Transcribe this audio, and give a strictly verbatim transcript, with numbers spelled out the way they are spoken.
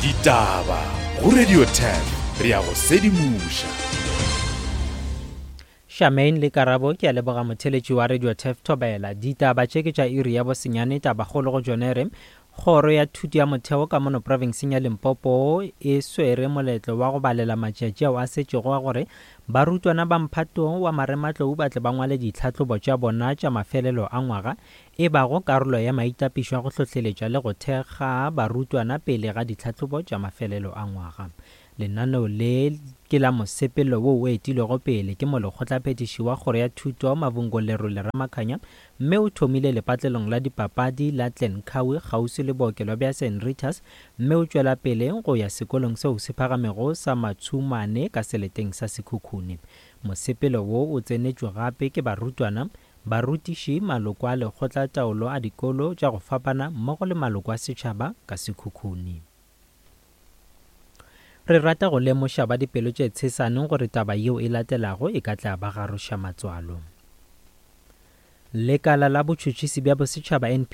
Ditaba go Radio Turf re ya go sedimoša. Charmaine le Karabo ke a leboga motheletši wa Radio Turf Thobela. Ditaba tše ke tša iri ya bosenyane tabakgolo go tšone re Kgoro ya Thuto ya Motheo ka mono profenseng ya Limpopo e swere moletlo wa go balela matšatši ao a setšego a gore barutwana ba mphato wa marematlou ba tle ba ngwale ditlhahlobo tša bona tša mafelelo a ngwaga e bago karolo ya maitapišo a go hlohleletša le go thekga barutwana pele ga ditlhahlobo tša mafelelo a ngwaga. Lenaneo le ke la mosepelo wo o etilwego pele ke molekgotlaphethiši wa Kgoro ya Thuto Mavhungo Lerole Ramakhanya mme o thomile lepatlelong la dipapadi la Glencoe kgauswi le bookelo bja St Rita's mme o tšwela pele go ya sekolong seo se phagamego sa Matshumane ka seleteng sa Sekhukhune. Mosepelo wo o tsenetšwe gape ke barutwana, barutiši, maloko a lekgotlataolo a dikolo tša go fapana mmogo le maloko a setšhaba ka Sekhukhune. Re rata go lemoša ba dipelo tše tshesane gore taba yeo e latelago e ka tla ba garoša matswalo. Lekala la botšhotšhisi bja bosetšhaba N P